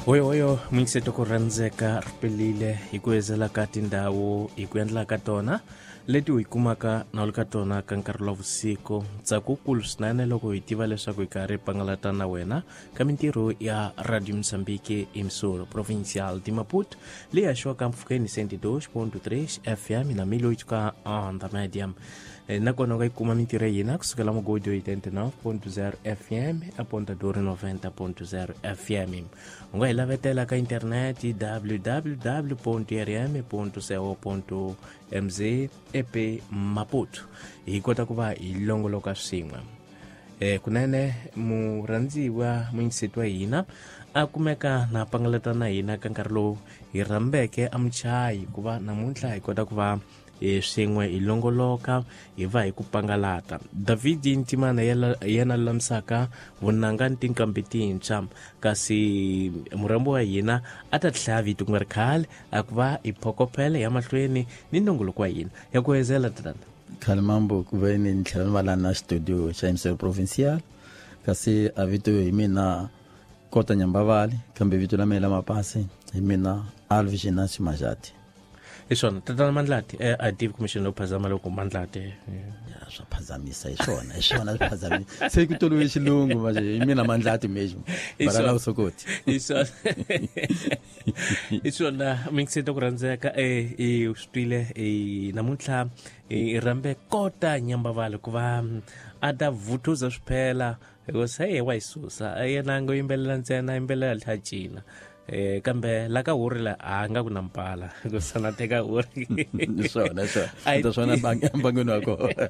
Hoyohoyo muyingiseti ku rhandzeka ri pelile hi ku ezela ka tindhawu hi ku endla ka tona leti u yi kumaka na u ri ka tona ka nkarhi wa vusiku. Ntsako wukulu swinene loko hi tiva leswaku hi karhi hi pangalata na wena ka mintirho ya Radio Mozambique emissora provincial de Maputo leyi haxiwaka mpfhukeni 102.3 FM na 1008 ka onda média. Nakona u nga yi kuma mintirho ya hina kusukela mugodi 89.0 FM a Ponta Duro 90.0 FM. U nga hi lavetela ka internet www.rm.co.mz ep Maputo, hi kota ku va hi longoloka swin'we. Kunene murhandziwa muyingiseti wa hina a kumeka na pangalata na hina ka nkarhi lowu hi rhambeke a muchayi ku va namuntlha hi kota ku va swin'we hi longoloka hi va hi ku pangalata. David Ntimana yena lulamisaka vunanga ni tinqambi tintshwa, kasi murhambi wa hina a ta tlhaya vito ku nga ri khale a ku va hi phokophele ya mahlweni ni nongoloko wa hina ya ku hezela. Tatana Khale mambo ku ve ni tlhela ni va la na studio xa emissora provincial, kasi a vito hi mina Kota Nyambavali, kambe vito la mina la mapasi hi mina Alves Genancio Majati. Hi swona tatana Mandlati, a tivi kumbexana loko phazama loko Mandlati. Ya swa phazamisa, hi swona, hi swona swi phazamisa se ku tolove xilungu manje hi mina Mandlati mexo bara la vusokoti. Hi swona, hi swona mingiseti ku rhandzeka, i swi twile, namuntlha i rhambe Kota Nyambavali ku va a ta vuthuza swiphela hikuva se ye wa yi susa yena a ngo yimbelela ntsena, yimbelela tlha cina, kambe la ka huri la a nga ku na mpala hikuva na teka huri. Swona swona ta swona mbangweni wa kona.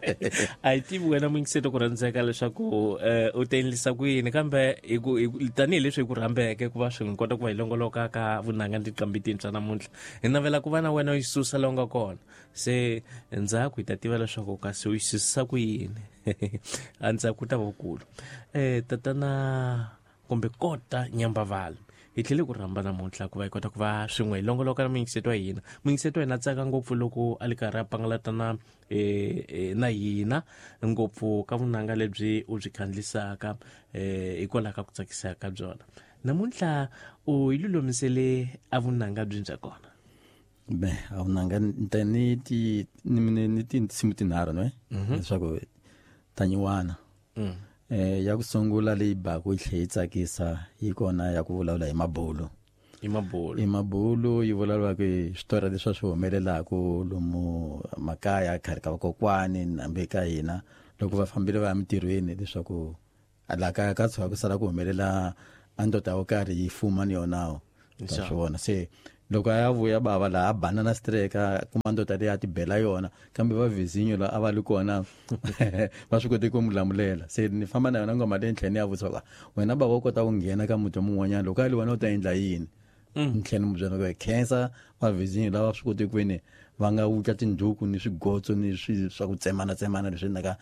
A yi tivi wena muyingiseti ku rhandzeka leswaku u ta endlisa ku yini, kambe hi ku tanihileswi hi ku rhambeke ku va swi n'wi kota ku va hi longoloka ka vunanga ni tinqambi tintshwa namuntlha, hi navela ku va na wena u yi susa la u nga kona. Se ndzhaku hi ta tiva leswaku kasi u yi susisa ku yini, a ndzhaku ta vukulu. Tatana kumbe Kota Nyambavali, hi tlhele ku rhamba namuntlha ku va hi kota ku va swin'we hi longoloka na muyingiseti wa hina. Muyingiseti wa hina tsaka ngopfu loko a li karhi a pangalata na na hina ngopfu ka vunanga lebyi u byi khandlisaka, hikwalaho ka ku tsakisa ka byona. Namuntlha u yi lulamisele a vunanga byi bya kona. Be a vunanga ni ni ti ni ni tinsimu tinharhu ne leswaku tanyiwana. Ya ku sungula leyi baku yi tlhe yi tsakisa yi kona ya ku vulavula hi mabulu. Hi mabulu. Hi mabulu yi vulavulaka hi switori leswi swi humelelaku lomu makaya khale ka vakokwani hambi ka hina loko va fambile va ya mintirhweni, leswaku laha kaya ka tshuka ku sala ku humelela a ndoda yo karhi yi fuma ni yonawo ta swi vona. Se loko a ya vuya bava laha a banana streka kuma ndoda leyi a ti bela yona, kambe va vizinyo la a va li kona va swi kote ku n'wi lamulela. Se ni famba na yona ngoma leyi ni tlhela ni ya vutisa ku wena bava u kota ku nghena ka muti mun'wanyana loko a li wena u ta endla yini. Ni tlhela ni mu byela ku khensa va vizinyo lava swi kote kwini va nga wutla tindhuku ni swigotso ni swi swa ku tsemana tsemana leswi naka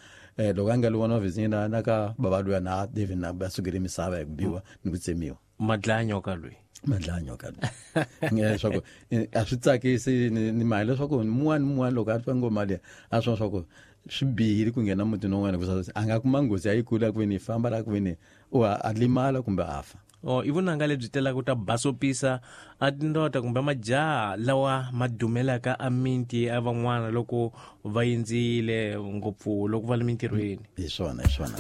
loko a nga li vona va vizinyo la na ka bava luya na David na va sukele misava hi ku biwa ni ku tsemiwa. Madlaya nyoka loyi. Madlaya nyoka loyi leswaku a swi tsakisi ni mali leswaku mun'wana ni mun'wana loko a twa ngoma leyi a swi vona swa ku swi bihile ku nghena mutini wun'wana hikuva a nga kuma nghozi ya yikulu ya ku veni famba la ku veni u a limala kumbe a fa. Oh, i vunanga lebyi telaka ta basopisa a tindota kumbe majaha lawa ma dumelaka a minti ya van'wana loko va yindzile ngopfu loko va le mintirhweni. Hi swona, hi swona.